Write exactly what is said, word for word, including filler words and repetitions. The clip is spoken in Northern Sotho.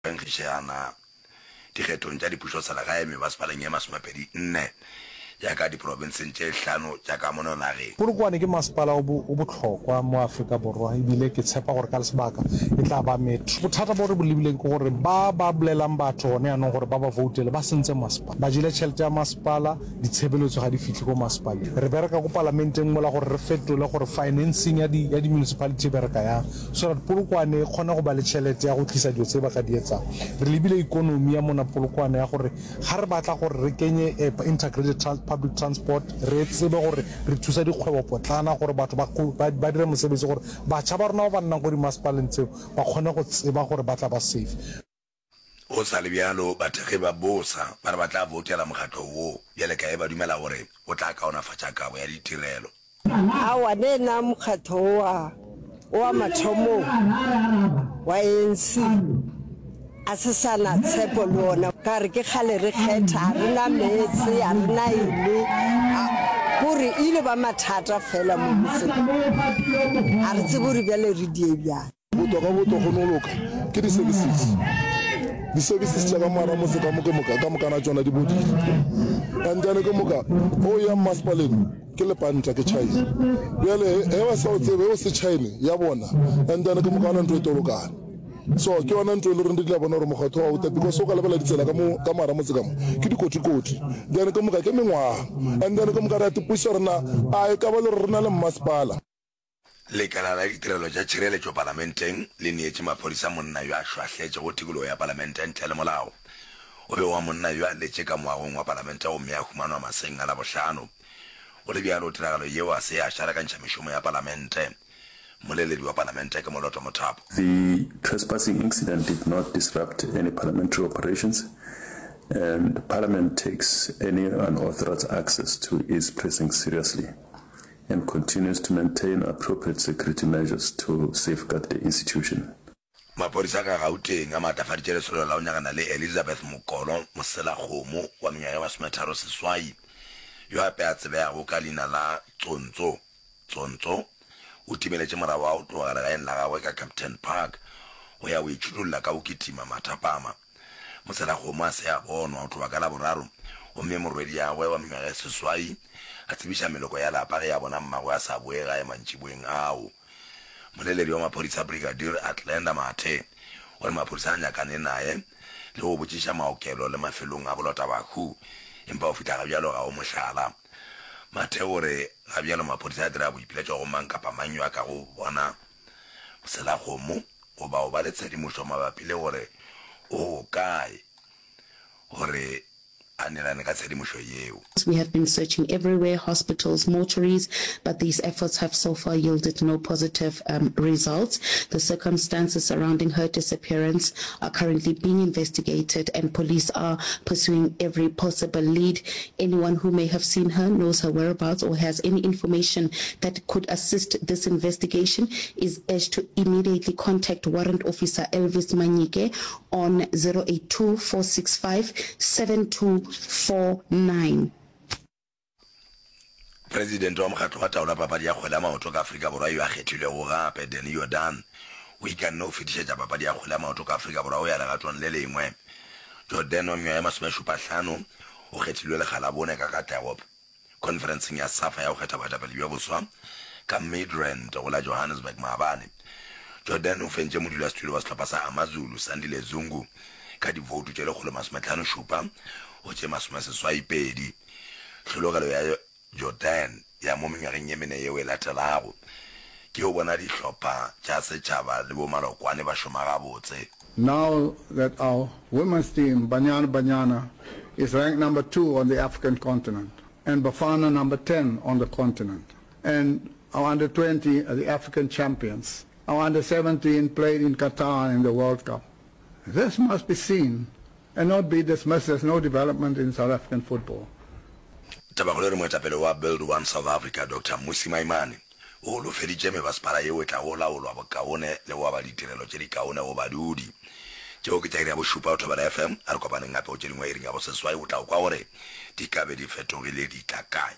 Nkgišana dikgethong tša dipušoselegae mebasepaleng ye masomepedi nne ya ka diprofenseng tše hlano tša ka mono nageng. Polokwane ke masepala o o bohlokwa mo Afrika Borwa ebile ke tshepa gore ka sebaka e tla ba metro. Bothata bo re bo lebileng ke gore ba ba bolelang batho gone yanong gore ba ba voutele ba sentse masepala. Ba jele tšhelete ya masepala, ditshebeletso ga di fihle ko masepaleng. Re bereka ko palamenteng mola gore re fetole gore financing ya di ya di-municipality e bereka yang so that Polokwane e kgone go ba le tšhelete ya go tlisa dilo tse ba ka di etsang. Re lebile ikonomi ya mona Polokwane ya gore ga re batla gore re kenye integrated public transport, re tsebe gore re thusa dikgwebopotlana gore batho ba ba dire mosebetsi gore batjha ba rona ba ba nnang ko dimasepaleng tseo ba kgone go tseba gore ba tla ba safe. Go sa le bjalo, bathekgi ba bosa ba re ba tla voutela mokgatlo wo bjale ka ge ba dumela gore o tla kaonafatša kabo ya ditirelo. Aowa, ne na mokgatho owa owa mathomong wa A N C a se sa na tshepo le ona, ka re ke kgale re kgetha, a re na meetse, a re na eng, kore e ile ba mathata fela mo motseng, a re tsebe gore bjale re die bjang. Boto ka boto go no loka ke di services. Di services tša ka moara motse ka mo ke moka ka mokana tšona di bodile. And then ke moka o ya mmasepaleng ke lepanta ke China. Bjale he ba sa o tsebe o se China ya bona and then ke moka ona ntho e tolokana. So ke yona ntho e le reng re tla bona gore mokgatho wa uta because o ka lebela ditsela ka mo ka moara motse ka mo ke dikotikoti. Then ke moka ke mengwaga and then ke moka re a tipuša gore na a e ka ba le gore re na le mmasepala. Lekala la Ditirelo tša Tšhireletšo Palamenteng le neetše maphodisa monna yo a šwahletšego tikologo ya Palamente ntle le molao. O be wa monna yo a letše ka moagong wa Palamente gomme a humanwa maseng a Labohlano. Go le bjalo, tiragalo yeo a se ya šarakantšha mešomo ya Palamente. Mmoleledi wa Palamente ke Moloto Mothapo. The trespassing incident did not disrupt any parliamentary operations and Parliament takes any unauthorized access to its precincts seriously and continues to maintain appropriate security measures to safeguard the institution. Maphodisa ka Gauteng a maatlafaditše lesolo la go nyakana le Elizabeth Mokolo Moselakgomo wa mengwaga ye masometharo seswai, yo gape a tsebegago ka leina la Tsontso Tsontso, o timeletše morago ga go tloga legaeng la gagwe ka Kempton Park go ya go itšhudulla ka go kitima mathapama. Moselakgomo a se a bonwa go tloga ka Laboraro gomme morwediagwe wa mengwaga e seswai a tsebiša meloko ya lapa ge a bona mmagwe a sa boe gae mantšiboeng ao. Moleledi wa maphodisa Brigadier Athlenda Mathe o re maphodisa a nyakane naye le go botšiša maokelo le mafelong a bolotabahu empa go fihla gabjalo ga go mohlala. Mathe o re gabjalo maphodisa a dira boipiletšo go mang kapa mang yo a kago bona Moselakgomo goba go ba le tshedimošo mabapi le gore o gokae gore a neelane ka tshedimošo yeo. We have been searching everywhere, hospitals, mortuaries, but these efforts have so far yielded no positive um, results. The circumstances surrounding her disappearance are currently being investigated and police are pursuing every possible lead. Anyone who may have seen her, knows her whereabouts or has any information that could assist this investigation is urged to immediately contact Warrant Officer Elvis Manyike on zero eight two, four six five, seven two four nine. Presidente wa Mokgatlo wa Taolo ya Papadi ya Kgwele ya Maoto ka Afrika Borwa yo a kgethilwego gape, Danny Jordaan, o ikanne go fetišetša papadi ya kgwele ya maoto ka Afrika Borwa go ya legatong le lengwe. Jordaan wa mengwaga ye masomešupa-hlano o kgethilwe lekga la bone ka katlego khonferenseng ya SAFA ya go kgetha boetapele bjo boswa ka Midrand go la Johannesburg maabane. Jordaan o fentše modulasetulo wa sehlopha sa AmaZulu, Sandile Zungu, ka divoutu tše lekgolo masometlhano šupa go tše masomeseswai pedi. Hlologelo ya Jordaan ya mo mengwageng ye mene yeo e latelago ke go bona dihlopha tša setšhaba le bomalokwane ba šoma gabotse. Now that our women's team, Banyana Banyana, is ranked number two on the African continent and Bafana number ten on the continent, and our under twenty are the African champions, our under seventeen played in Qatar in the World Cup. This must be seen and not be dismissed as no development in South African football. Tabakgolo e re moetapele wa Build One South Africa Doctor Mmusi Maimane o holofeditše mebasepala yeo e tlago laolwa bokaone le go aba ditirelo tše dikaone go badudi. Tšeo ke tša iri ya bošupa go Thobela F M. A re kopaneng gape go tše dingwe iring ya boseswai go tla go kwa gore di ka be di fetogile di tla kae.